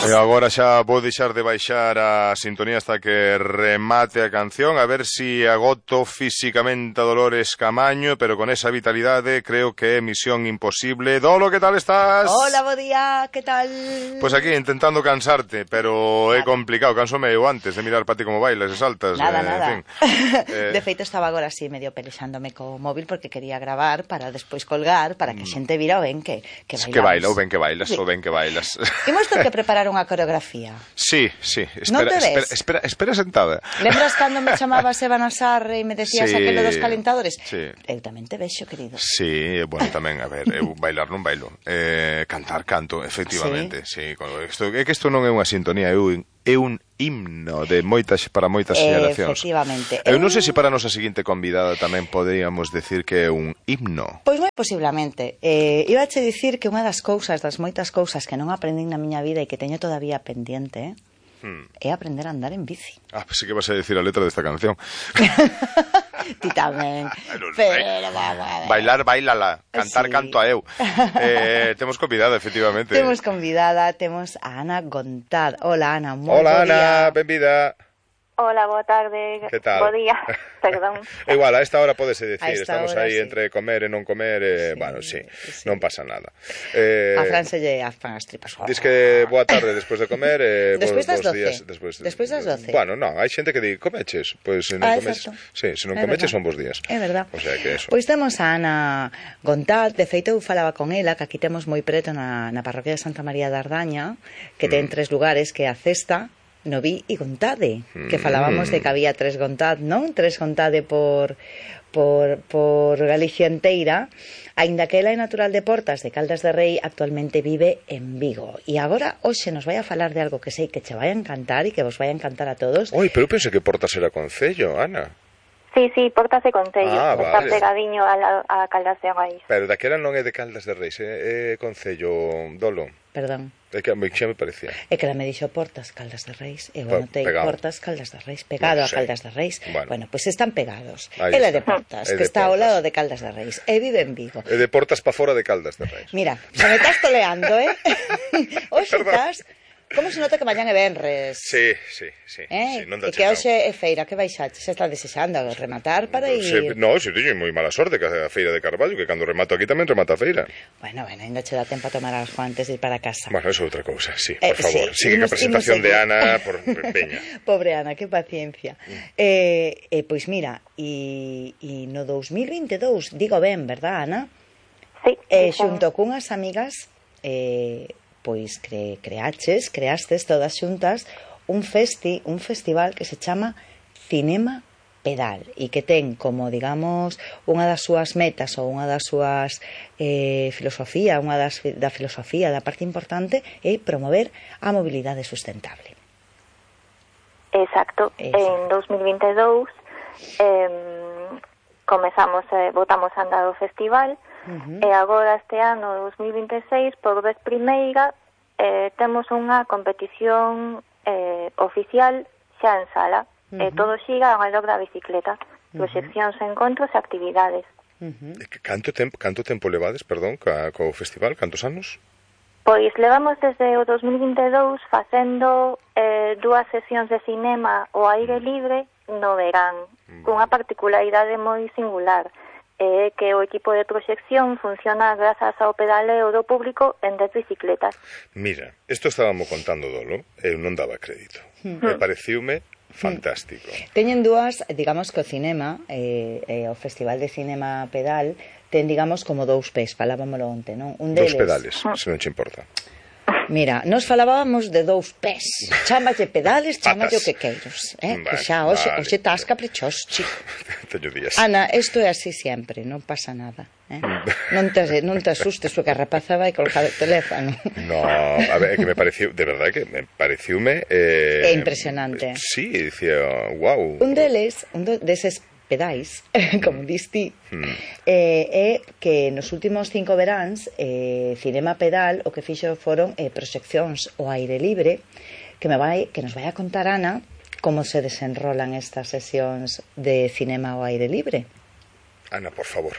E agora xa vou deixar de baixar a sintonía hasta que remate a canción, a ver si agoto físicamente a Dolores Camaño, pero con esa vitalidade creo que é misión imposible. Dolo, que tal estás? Hola, bo día, que tal? Pois aquí, intentando cansarte, pero é complicado, cansome eu antes de mirar para ti como bailas e saltas. Nada. En fin. De feito, estaba agora así medio pelexándome co móvil porque quería gravar para despois colgar, para que a xente vira o ben que bailamos. Que baila, o ben que bailas, o ben que bailas. Imos ter que preparar unha coreografía. Sí. Non te ves? Espera sentada. Lembras cando me chamabas Eva Nasarre e me decías aquilo dos calentadores? Sí. Eu tamén te vexo, querido. Sí, bueno, tamén, a ver, eu bailar non bailo. Cantar canto, efectivamente. Sí, é que isto non é unha sintonía, é un himno de para moitas xeracións. Efectivamente. Eu non sei se para a nosa seguinte convidada tamén poderíamos decir que é un himno. Pois moi posiblemente. Iba a che dicir que unha das moitas cousas que non aprendín na miña vida e que teño todavía pendiente é aprender a andar en bici. Pensei que vas a decir a letra desta canción. Ti tamén. Pero bailar, bailala. Cantar, canto a eu. Temos convidada, efectivamente. Temos a Ana Gontad. Hola, Ana, Hola, Ana, benvida. Hola, boa tarde. Que tal? Bo día, perdón. Igual, a esta hora podese decir, estamos aí sí. entre comer e non comer, bueno, sí, non pasa nada. A Fran se lle afan as tripas. Diz que boa tarde despois de comer, despois das 12. Días, despois das 12. Bueno, non, hai xente que di, comeches, pois se non comeches, sí, se non comeches son bons días. É verdad. O sea que eso. Pois temos a Ana Gontad, de feito eu falaba con ela, que aquí temos moi preto na parroquia de Santa María de Ardaña, que ten 3 lugares, que é a Cesta, Noví e Gontade, que falábamos de que había 3 Gontad, non? 3 Gontade por Galicia enteira, aínda que ela é natural de Portas de Caldas de Rei, actualmente vive en Vigo. E agora, hoxe, nos vai a falar de algo que sei que che vai a encantar e que vos vai a encantar a todos. Oi, pero eu pensei que Portas era concello, Ana. Sí, Portas de Concello, está vale. pegadiño a Caldas de Rei. Pero daquela non é de Caldas de Reis, é concello Dolo. Perdón. É que xa me parecía. É que ela me dixo Portas, Caldas de Reis, e eu anotei Portas, Caldas de Reis, pegado a Caldas de Reis. Bueno, pois están pegados. Ela é de Portas, que está ao lado de Caldas de Reis, e vive en Vigo. É de Portas pa fora de Caldas de Reis. Mira, se me estás toleando, Hoxe estás... Como se nota que mañan é venres? Sí, non dá e que hoxe é feira, que baixaxe? Se está desexando rematar para ir... Non, se teño moi mala sorte que a feira de Carballo, que cando remato aquí tamén remata a feira. Bueno, ainda che dá tempo a tomar algo antes de ir para casa. Bueno, eso é outra cousa, sí, por favor. Sigue que a presentación de Ana por Peña. Pobre Ana, que paciencia. Pois mira, e no 2022, digo ben, verdad, Ana? Sí. Xunto cunhas amigas... pois creastes todas xuntas un festival que se chama Cinema Pedal e que ten como, digamos, unha das súas metas ou unha das súas filosofía, da filosofía, da parte importante é promover a mobilidade sustentable. Exacto. En 2022 botamos a andar o festival. E agora este ano 2026 por vez primeira temos unha competición oficial xa en sala, todo xiga ao redor da bicicleta, proxeccións, encontros e actividades. Canto tempo levades, perdón, co festival? Cantos anos? Pois levamos desde o 2022 facendo 2 sesións de cinema ao aire libre no verán, cunha particularidade moi singular, que o equipo de proxección funciona grazas ao pedaleo do público en 10 bicicletas. Mira, isto estábamos contando Dolo, eu non daba crédito. Me pareciume fantástico. Teñen dúas, digamos que o cinema, o Festival de Cinema Pedal, ten, digamos, como 2 pés, falábamoslo onte, non? Un deles... 2 pedales, se non che importa. Mira, nos falábamos de 2 pés. Chámalle pedales, chámalle o que queiros. Que xa, hoxe estás caprichoso, chico. Teño días. Ana, isto é así sempre, non pasa nada. Non te asustes porque a rapaza vai colgar o teléfono. No, a ver, que me pareció, de verdad que me pareciume... É impresionante. Sí, dicía, wow. Un deses pedais, como diste, é que nos últimos 5 veráns Cinema Pedal o que fixo foron proxeccións ao aire libre que nos vai a contar Ana como se desenrolan estas sesións de cinema ao aire libre. Ana, por favor.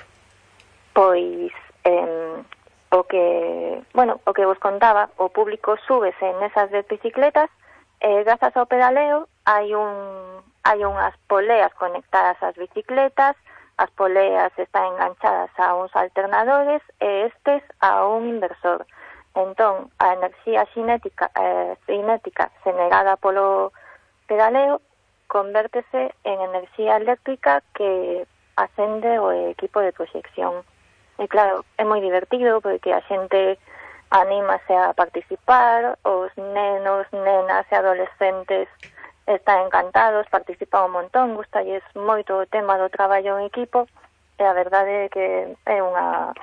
Pois o que vos contaba, o público súbese nesas 10 bicicletas, grazas ao pedaleo hai unhas poleas conectadas ás bicicletas, as poleas están enganchadas a uns alternadores e estes a un inversor. Entón, a enerxía cinética generada polo pedaleo convértese en enerxía eléctrica que acende o equipo de proxección. E claro, é moi divertido porque a xente anímase a participar, os nenos, nenas e adolescentes están encantados, participan un montón, gustalles moito o tema do traballo en equipo e a verdade é que é unha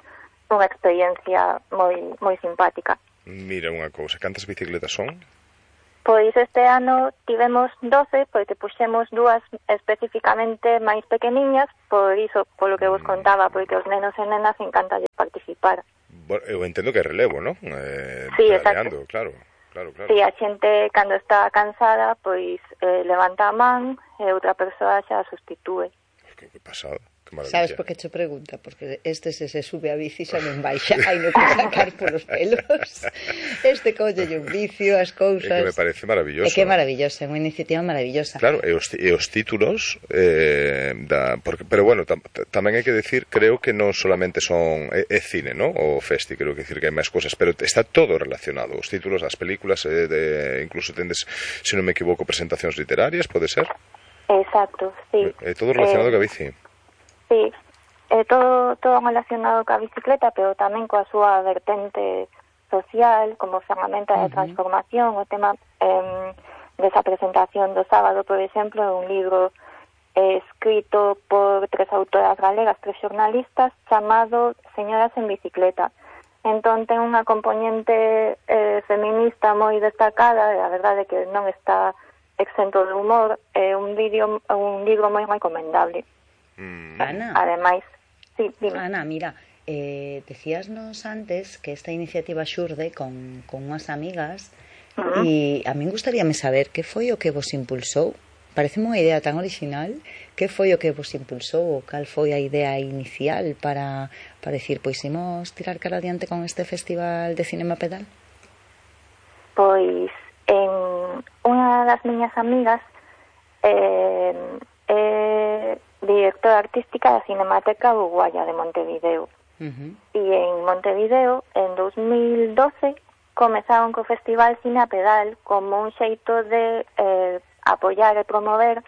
experiencia moi simpática. Mira unha cousa, cantas bicicletas son? Pois este ano tivemos 12, porque puxemos 2 especificamente máis pequeniñas, por iso, polo que vos contaba, porque os nenos e nenas encantan participar. Bueno, eu entendo que é relevo, non? Sí, exacto. Claro. Sí, a xente, cando está cansada, pois levanta a man e outra persoa xa a sustitúe. Que pasada. Sabes por que te pregunta? Porque se sube a bici xa non baixa, hai no que sacar polos pelos. Colle un vicio, as cousas. É que me parece maravilloso. É que é maravillosa, é unha iniciativa maravillosa. Claro, e os títulos pero bueno, tamén hai que decir, creo que non solamente son é cine, ¿no? O festi, creo que decir que hai máis cousas, pero está todo relacionado. Os títulos das películas, incluso tendes, se non me equivoco, presentacións literarias, pode ser? Exacto, sí. É todo relacionado ca bici. Sí, é todo relacionado ca bicicleta, pero tamén coa súa vertente social, como ferramenta de transformación. O tema desa presentación do sábado, por exemplo, é un libro escrito por 3 autoras galegas, 3 xornalistas, chamado Señoras en bicicleta. Entón ten unha componente feminista moi destacada, e a verdade é que non está exento de humor, é un libro moi recomendable. Ana, ademais, sí, dime. Ana, mira, decíasnos antes que esta iniciativa xurde con unhas amigas e a min gustaríame saber que foi o que vos impulsou. Parece unha idea tan original. Que foi o que vos impulsou ou cal foi a idea inicial para decir, pois imos tirar cara adiante con este festival de cinema pedal? Pois unha das miñas amigas directora artística da Cinemateca Uruguaya de Montevideo. E en Montevideo, en 2012, comezaron co Festival Cine a Pedal como un xeito de apoiar e promover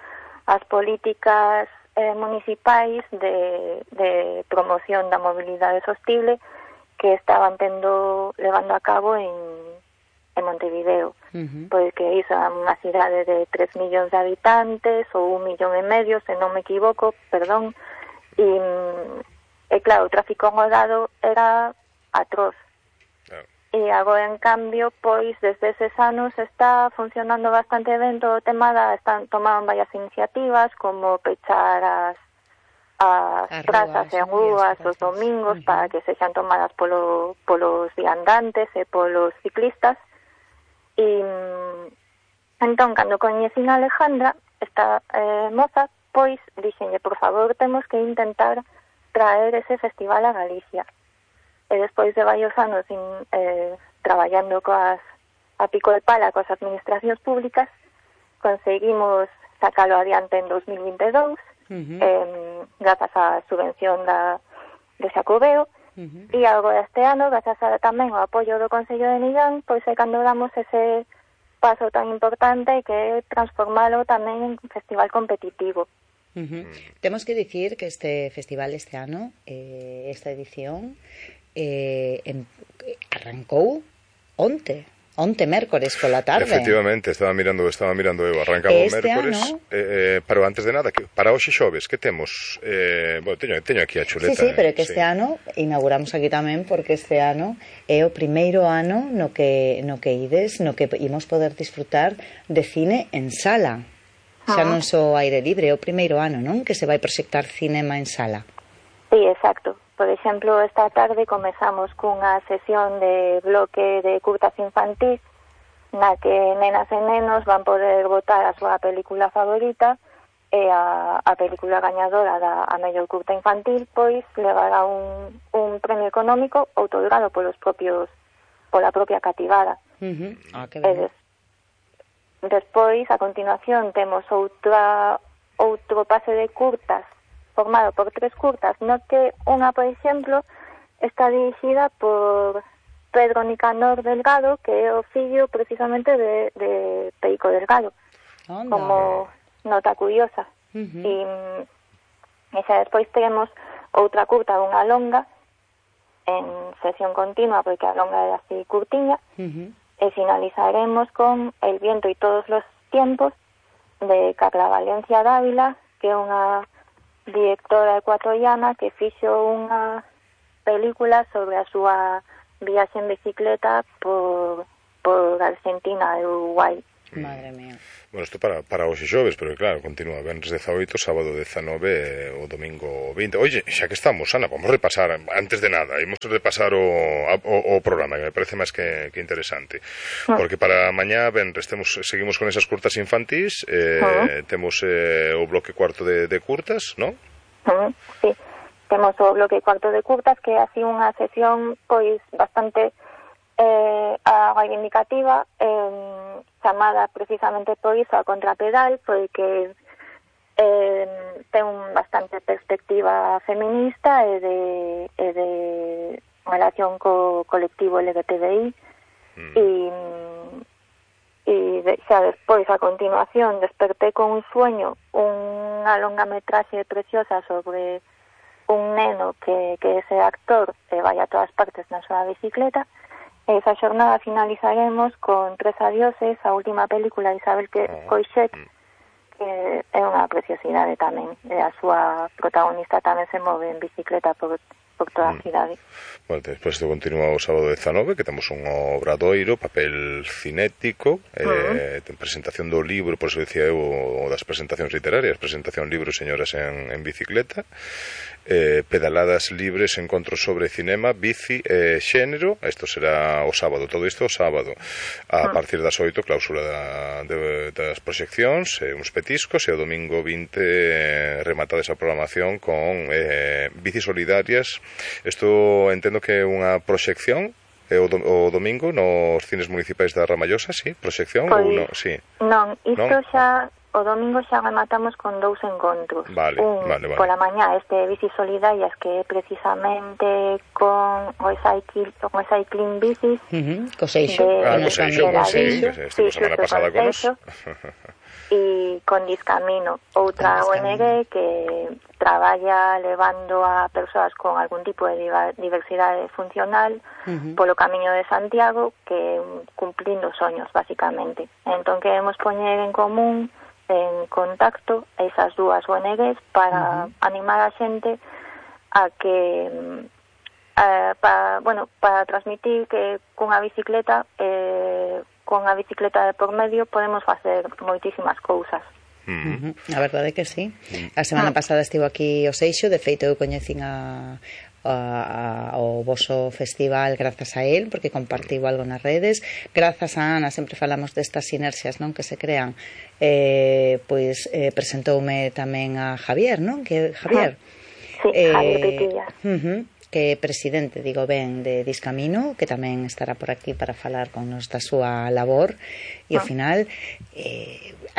as políticas municipais de promoción da mobilidade sostible que estaban levando a cabo en Montevideo. Porque iso é unha cidade de 3 millóns de habitantes ou 1,5 millóns, se non me equivoco, perdón, e claro, o tráfico rodado era atroz. E agora, en cambio, pois, desde eses anos está funcionando bastante ben todo o tema están tomando varias iniciativas, como pechar as prazas e rúas os domingos para que sexan tomadas polos viandantes e polos ciclistas. E entón, cando coñecín a Alejandra, esta moza, pois dixenlle, por favor, temos que intentar traer ese festival a Galicia. E despois de varios anos traballando a pico de pala coas administracións públicas, conseguimos sacalo adiante en 2022, grazas á subvención de Xacobeo. E agora este ano, grazas tamén ao apoio do Concello de Millán, pois é cando damos ese paso tan importante que é transformalo tamén en festival competitivo. Temos que dicir que este festival este ano, esta edición, arrancou onte mércores pola tarde. Efectivamente, estaba mirando eu, arrancaba o mércores, pero antes de nada, para hoxe xoves, que temos? Bueno, teño aquí a chuleta. Sí, pero que este ano, inauguramos aquí tamén, porque este ano é o primeiro ano no que ides, no que imos poder disfrutar de cine en sala. Xa non só aire libre, é o primeiro ano, non? Que se vai proxectar cinema en sala. Sí, exacto. Por exemplo, esta tarde comezamos cunha sesión de bloque de curtas infantís na que nenas e nenos van poder votar a súa película favorita e a película gañadora da a mellor curta infantil pois levará un premio económico outorgado pola propia cativada. Que ben. Despois, a continuación, temos outro pase de curtas formado por 3 curtas, no que unha, por exemplo, está dirixida por Pedro Nicanor Delgado, que é o fillo precisamente de Perico Delgado. Onda. Como nota curiosa. E xa despois temos outra curta dunha longa en sesión continua, porque a longa é así curtiña, e finalizaremos con El viento y todos los tiempos de Carla Valencia Dávila, que é unha directora ecuatoriana que fixo unha película sobre a súa viaxe en bicicleta por Argentina e Uruguai. Madre mía. Bueno, isto para hoxe xoves, pero claro, continúa venres 18, sábado 19 o domingo 20. Oye, xa que estamos, Ana, vamos a repasar, antes de nada, imos repasar o programa, que me parece máis que interesante. Porque para mañá venres seguimos con esas curtas infantís, temos o bloque cuarto de curtas, ¿no? Sí, temos o bloque cuarto de curtas, que é así unha sesión pois bastante reivindicativa, chamada precisamente por iso a contrapedal, porque ten bastante perspectiva feminista e de relación co colectivo LGTBI e xa despois, a continuación, Desperté con un sueño, unha longametraxe preciosa sobre un neno que ese actor vai a todas partes na súa bicicleta. Esa xornada finalizaremos con Tres adioses, a última película de Isabel Coixet, que é unha preciosidade tamén. A súa protagonista tamén se move en bicicleta por toda a cidade. Bueno, despois continúa o sábado 19, que temos un obradoiro, papel cinético, ten presentación do libro, por eso decía eu, o das presentacións literarias, presentación libro Señoras en bicicleta, pedaladas libres, encontros sobre cinema, bici e xénero. Isto será o sábado, todo isto o sábado a partir das 8, cláusula das proxeccións, uns petiscos, e o domingo 20 rematada esa programación con bicis solidarias. Isto entendo que é unha proxección o domingo nos cines municipais da Ramallosa, sí? Proxección pois, ou non? Sí. Non, isto xa o domingo xa rematamos con 2 encontros. Vale. Pola mañá bicis solidarias, que é precisamente con Recycling Bicis. Co Seixo. Sí, estivemos a semana pasada con nos. E con Discamino, outra ONG que traballa levando a persoas con algún tipo de diversidade funcional polo Camiño de Santiago, que cumplindo soños, basicamente. Entón queremos poñer en común, en contacto, esas dúas ONGs para animar a xente a que para transmitir que cunha bicicleta de por medio podemos facer moitísimas cousas. A verdade é que sí. A semana pasada estivo aquí o Seixo, de feito eu coñecín ao voso festival grazas a él, porque compartiu algo nas redes. Grazas a Ana, sempre falamos destas sinerxias, non, que se crean. Presentoume tamén a Javier, non? Que Javier? Sí, Javier Petilla. Que é presidente, digo ben, de Discamino, que tamén estará por aquí para falar con nos da súa labor. E ao final,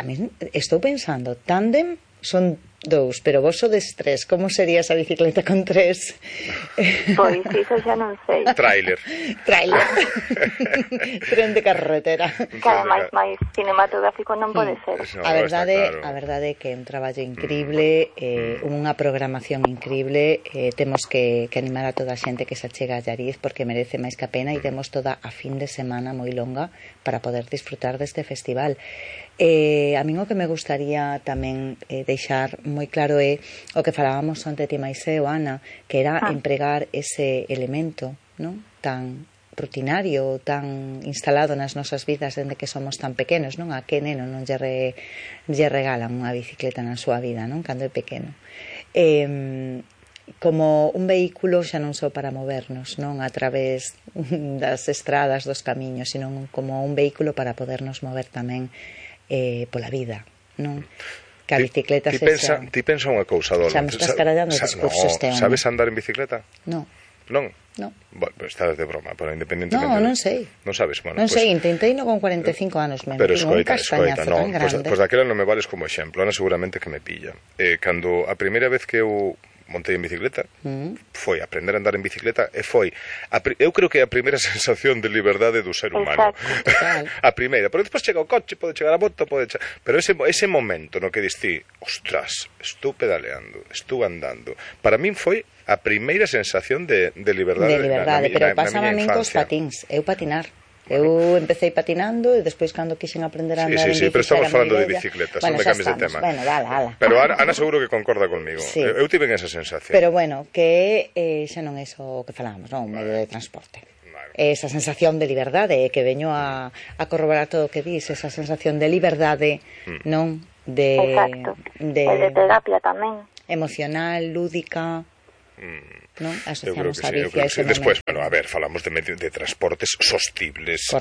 a mí estou pensando, tándem son 2, pero vos sodes 3. Como sería esa bicicleta con 3? Pois iso xa non sei. Tráiler. Tren de carretera. Claro, máis cinematográfico non pode ser. A verdade é que é un traballo increíble, unha programación increíble. Temos que animar a toda a xente que se achega a Llariz, porque merece máis que a pena, e temos toda a fin de semana moi longa para poder disfrutar deste festival. A min o que me gustaría tamén deixar moi claro é o que falábamos onte ti máis eu, Ana, que era empregar ese elemento, non, tan rutinario, tan instalado nas nosas vidas dende que somos tan pequenos, non? A que neno non lle regalan unha bicicleta na súa vida, non? Cando é pequeno. Como un vehículo xa non só para movernos, non, a través das estradas, dos camiños, sino como un vehículo para podernos mover tamén pola vida, non? Que a bicicleta ti pensa unha cousa, Dolo. Xa me estás carallando o discurso este home. Sabes andar en bicicleta? Non. Non? Non. Bueno, estás de broma, pero independentemente... Non sei. Non sabes, bueno, non sei, intentei no con 45 anos mesmo. Pero escoita, tan grande. Pois daquela non me vales como exemplo. Ana seguramente que me pilla. Cando a primeira vez que eu montei en bicicleta, foi aprender a andar en bicicleta e foi, eu creo que a primeira sensación de liberdade do ser humano. A primeira, pero despois chega o coche, pode chegar a moto, pero ese momento no que diste, ostras, estou pedaleando, estou andando, para min foi a primeira sensación de liberdade. De liberdade, pero pasaba a min cos patins, eu patinar. Eu empecé patinando e despois cando quixen aprender a andar en bicicleta. Sí, pero estamos falando de bicicletas, non me cambies de tema. Bueno, dala. Pero Ana seguro que concorda conmigo. Sí. Eu tive esa sensación. Pero bueno, que xa non é iso que falamos, non? Un medio de transporte. Vale. Esa sensación de liberdade, que veño a corroborar todo o que dis, esa sensación de liberdade, non? Exacto. De terapia tamén. Emocional, lúdica... ¿no? Asociamos a bici a ese Despois, bueno, a ver, falamos de transportes sostibles,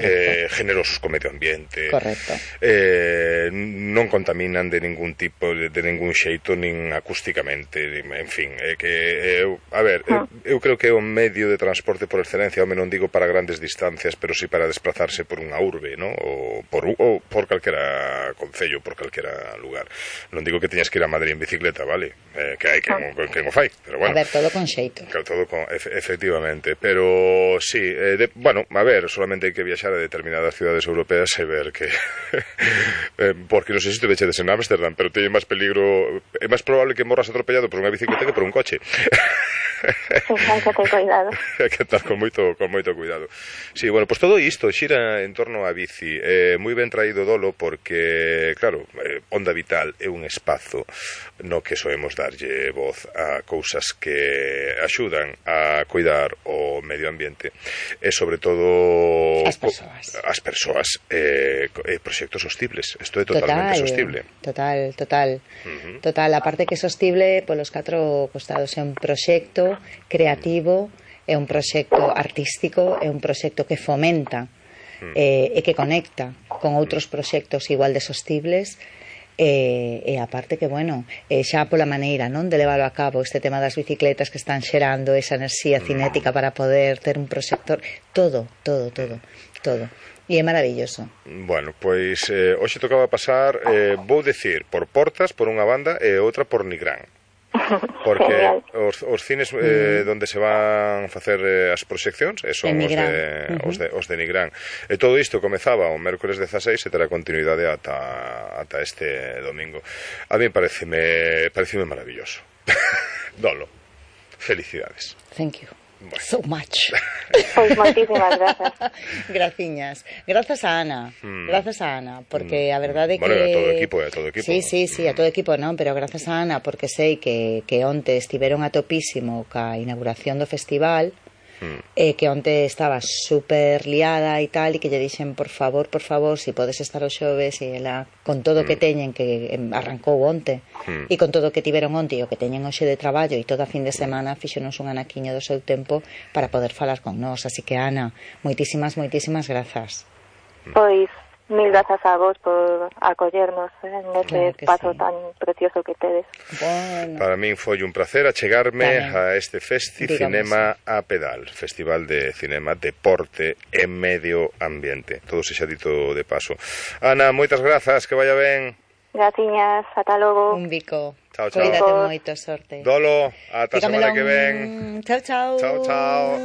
generosos co medio ambiente. Correcto. Non contaminan de ningún tipo, de ningún xeito, nin acústicamente, en fin, eu creo que é un medio de transporte por excelencia, home, non digo para grandes distancias, pero sí para desplazarse por unha urbe, ¿no? ou por calquera concello, por calquera lugar. Non digo que teñas que ir a Madrid en bicicleta, vale? Que hai quen o fai, pero bueno. A ver, todo con xeito. Todo efectivamente, pero sí, bueno, a ver, solamente hai que viaxar a determinadas ciudades europeas e ver que porque non sei se te vechedes en Ámsterdam, pero teñe máis peligro, é máis probable que morras atropellado por unha bicicleta que por un coche. Hai que ter cuidado. Hai que estar con moito cuidado. Sí, bueno, pues todo isto xira en torno á bici. Moi ben traído, Dolo, porque, claro, Onda Vital é un espazo no que soemos darlle voz a cousas que axudan a cuidar o medio ambiente e, sobre todo, as persoas proxectos sostibles. Isto é totalmente sostible. Total, aparte que sostible polos 4 costados, é un proxecto creativo, é un proxecto artístico, é un proxecto que fomenta e que conecta con outros proxectos igual de sostibles. E aparte que, bueno, xa pola maneira, non, de leválo a cabo, este tema das bicicletas que están xerando esa enerxía cinética para poder ter un proxector, todo. E é maravilloso. Bueno, pois hoxe tocaba pasar, vou decir, por Portas, por unha banda, e outra por Nigrán. Porque os cines donde se van facer as proxeccións son os de Nigrán. E todo isto comezaba o mércores 16 e terá continuidade ata este domingo. A mí pareceme maravilloso. Dolo, felicidades. Thank you. Bueno. So much. Pois moitísimas grazas. Graciñas. Grazas a Ana. Porque a verdade que... Bueno, a todo equipo. Sí, a todo equipo non, pero grazas a Ana porque sei que onte estiveron a topísimo ca inauguración do festival, que onte estaba super liada e tal, e que lle dixen, por favor, si podes estar o xoves, e ela, con todo o que teñen, que arrancou onte, e con todo o que tiveron onte e o que teñen hoxe de traballo e toda a fin de semana, fixonos un anaquiño do seu tempo para poder falar con nós. Así que, Ana, moitísimas grazas. Pois mil grazas a vos por acollernos neste espazo tan precioso que tedes. Bueno. Para min foi un placer achegarme a este Cinema a Pedal, Festival de Cinema, Deporte e Medio Ambiente. Todo se xa dito de paso. Ana, moitas grazas, que vaya ben. Graciñas, ata logo. Un bico. Chao. Cuídate moito, sorte. Dolo, ata a semana que ven. Chao. Chao.